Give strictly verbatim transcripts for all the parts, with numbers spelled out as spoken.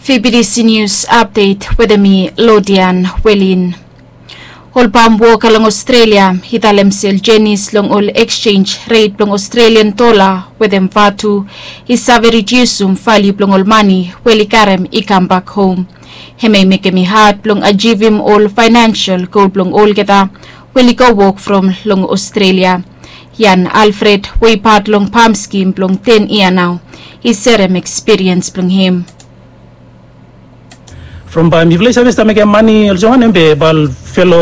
Fibidisi nius apdet wetem mi, Lodian Welin. Ol pam woka long Australia i talem se ol jenis long ol eksenj ret blong Australian dola wetem vatu i save ridiusum valiu blong ol mani we oli karem i kambak hom. Hemia i mekem i had blong ajivim ol faenensel gol blong olgeta we oli go wok from long Australia. Ian Alfred we i pat long pam skim blong ten yia nao i serem ekspiriens blong hem. From bae mifala i save stap mekem mane olsem wanem be bae ol felo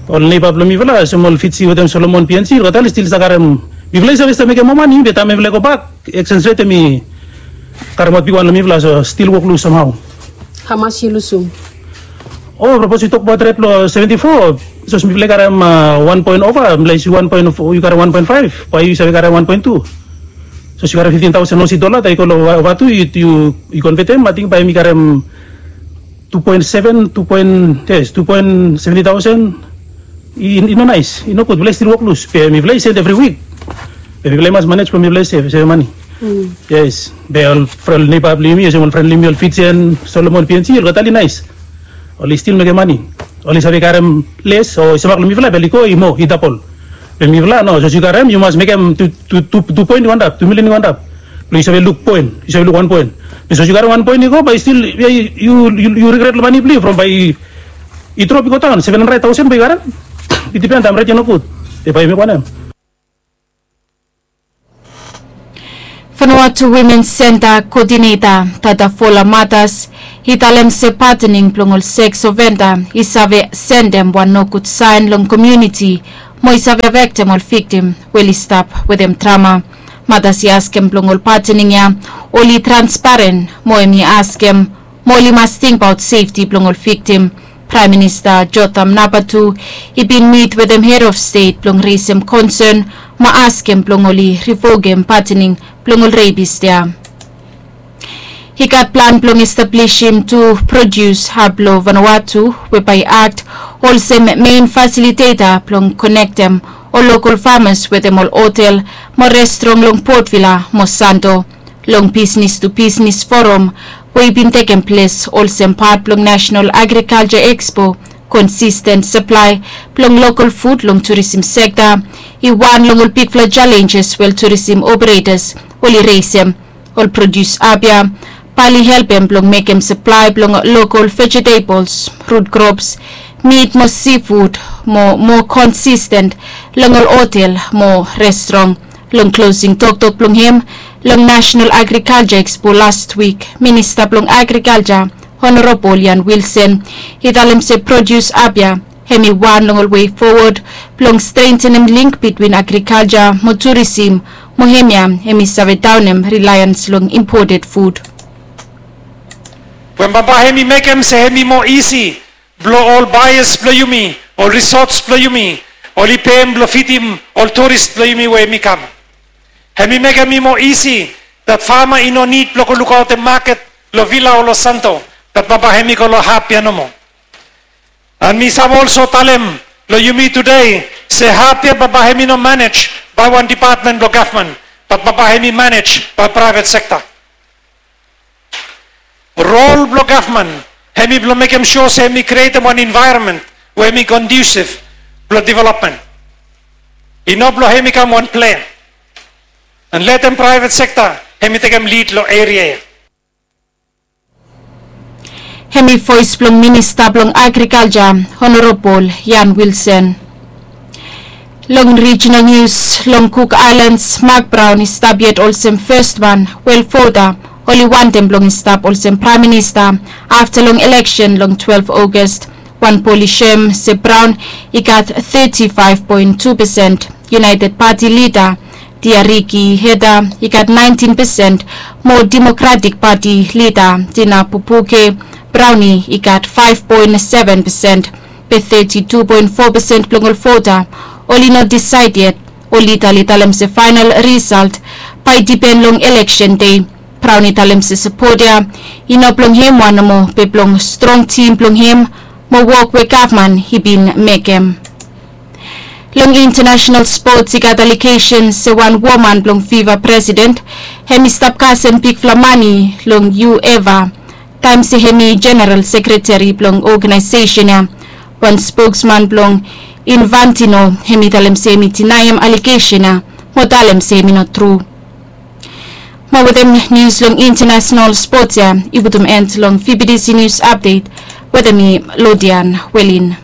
ol neiba blong mifala olsem ol Fiji wetem Solomon, P N G, olgeta oli stil stap karem, mifala i save stap mekem moa mane be taem mifala i gobak eksenj ret hemi karemaot bigwan long mifala, so stil wok lus samhao. Hamas yu lusum? O, sapos yu tokbaot ret blong seventy four, sapos mifala i karem wan poen ova, mifala i wan poen, yu karem wan poen faef, bae yu save karem wan poen tu. Sapos yu karem fiftin taosen Osi dola, taem yu go long vatu yu konvetem, ating bae yumi karem tu poen seven, tu poen, yes, tu poen seventi taosen. I no naes, i nogud, mifala i stil wok lus be mifala i send evri wik. Be mifala i mas manej blong mifala i save mane. Yes, be ol neiba blong yumi olsem ol fren blong yumi ol Fijian, Solomon, P N G, olgeta oli naes. Oli stil mekem mane. Oli save karem les o i stap long mifala be oli go i moa, i dabol. Be mifala no, sapos yu karem yu mas mekem tu poen i go antap, tu milian i go antap blong yu save luk poen, yu save luk wan poen. Be sapos yu karem wan poen i go bae yu stil, yu rigret long mane blong yu from bae i drop i go daon seven handred taosen bae yu karem. I dipen taem ret i nogud, be bae yu mekem wanem? Vanuatu Wimen Senta koodineta Tatafola Matas i talem se patening blong ol seks ovenda i save sendem wan nogud saen long komuniti mo i save afektem ol viktim we oli stap wetem trama. Matas i askem blong ol patening ya oli transparen mo hemi askem mo oli mas tingbaot sefti blong ol viktim. Praem Minista Jotham Napier tu i bin mit wetem hed of stet blong resem konsen mo askem blong oli rivokem patening blong ol repis ya. I gat plan blong establisim tu prodius hab blong Vanuatu we bae i akt olsem mein fasiliteta blong konektem ol lokol famas wetem ol hotel mo restrong long Port Vila mo Santo. Long bisnis tu bisnis foram we i bin tekem ples olsem pat blong National Agriculture Expo, konsisten saplae blong lokol fud long turisim sekta i wan long ol bigfala jalenjes we ol turisim operetas oli resem. Ol prodius hab ya bae oli helpem blong mekem saplae blong lokol vejetebels, rut krops, mit mo sifud mo moa konsisten long ol hotel mo restrong. Long klosing toktok blong hem long National Agriculture Expo lastwik, Minista blong Agrikalja Honorabol Ian Wilson i talem se prodius hab ya hemi wan long ol wei fowod blong strentenem link bitwin agrikalja mo turisim mo hemia hemi save daonem rilaens long impoted fud. We bambae hemi mekem se hemi moa isi blong ol baeas blong yumi, ol risots blong yumi, oli pem blong fidim ol turis blong yumi we hemi kam. Hemi mekem i moa isi dat fama i no nid blong go lukaotem maket long Vila o long Santo, dat bambae hemi go long hap ya nomo. An mi save olso talem long yumi tude se hap ya bambae hemi no manej bae wan depatmen blong gavman, bat bambae hemi manej bae praevet sekta. Rol blong gavman hemi blong mekem sua se hemi krietem wan envaeronmen we hemi kondiusiv blong developmen. I no blong hemi kam wan plen an letem praevet sekta hemi tekem lid long eria ya. Hemi voes blong Minista blong Agrikalja, Honorabol Ian Wilson. Long rijinal nius, long Cook Aelans, Mark Brown i stap yet olsem fes wan we ol vota oli wantem blong i stap olsem Praem Minista afta long eleksen long twelef August. Wan pol i soem se Brown i gat teti faef poen tu pesen, United Party lida Tiariki Hedder i gat naentin pesen, mo Democratic Party lida Tina Pupuke Brownie i gat faef poen seven pesen. Be teti tu poen fo pesen blong ol vota oli no disaed yet. Ol lida oli talem se faenol risalt bae i dipen long eleksen dei. Brown i talem se sapot ya i no blong hem wan nomo be blong strong tim blong hem mo wok we gavman i bin mekem. Long intanasonal spots i gat alegesen se wan woman blong fiva presiden hemi stap kasem bigfala mane long yu eva Taem se hem i jeneral sekreteri blong ogenaesesen ya, wan spokesman blong Infantino hem i talem se hem i dinaem alegesen ya mo talem se hem i no tru. Mo wetem nius long intanasonal spots ya, i putum en long fibidisi nius apdet. Wetem mi, Lodian Welin.